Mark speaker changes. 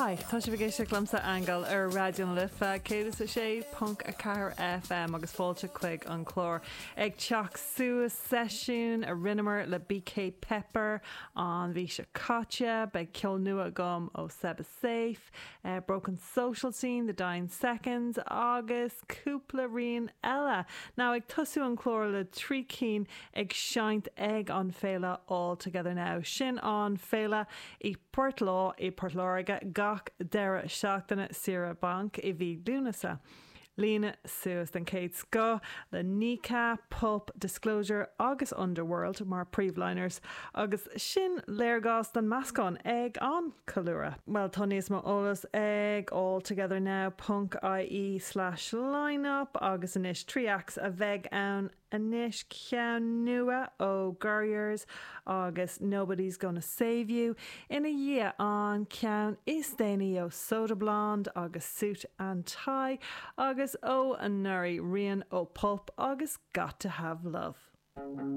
Speaker 1: Hi, tá sibh ag éisteacht liomsa, Aingeal, ar Raidió na Life 106.4 FM agus fáilte chuig an chlár Ag Teacht Suas, seisiún a rinneamar le BK Pepper an mhí seo caite. Beidh ceol nua agam ó Seba Safe, Broken Social Scene, The Dying Seconds agus cúpla rian eile. Now ag tosú an clár le 3 cinn ag seinnt ag an féile All Together Now. Sin an féile i Portlaw i Port Láirge gach deireadh seachtaine saoire bainc i mhí Lúnasa. Líonadh suas den chéad scoth le Kneecap, Pulp, Disclosure agus Underworld mar príomhliners agus sin léargas den meascán ag an ceiliúradh. Bhuel tá níos mó eolas ag alltogethernow ponc ie slash lineup agus anois 3 acts a bheidh ann Anois ceann nua ó Gurriers agus Nobody's Gonna Save You ina dhiaidh an ceann is déanaí ó Soda Blonde agus Suit and Tie agus ó anuraidh rian ó Pulp agus Got to Have Love.